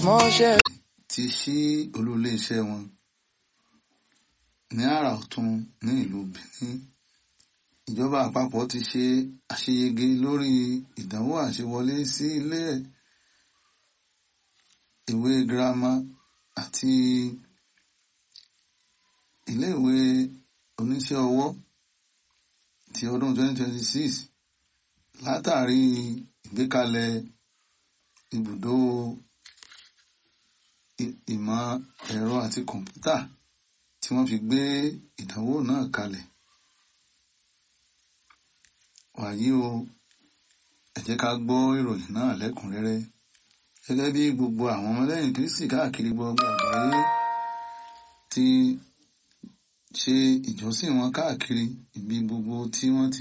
Small share. Ti ṣí olú iléeṣẹ́ wọn ní àrà ọ̀tún ní ìlú Benin. Ìjọba àpapọ̀ ti ṣe àṣeyege lórí ìdánwò àṣewọlé sí ilé ìwé girama àti ilé ìwé oníṣẹ́ ọwọ́ ti ọdún 2026 látàrí ìgbékalẹ̀ ibùdó ìmọ̀ ẹ̀rọ àti kọ̀ǹpútà tí wọ́n fi gbé ìdánwò náà kalẹ̀. Wàyí o, ẹ jẹ́ ká gbọ́ ìròyìn náà lẹ́kùnrẹ́rẹ́. Gẹ́gẹ́ bí gbogbo àwọn ọmọlẹ́yìn Kristi káàkiri gbogbo àgbáyé ti ṣe ìjọsìn wọn káàkiri ibi gbogbo tí wọ́n ti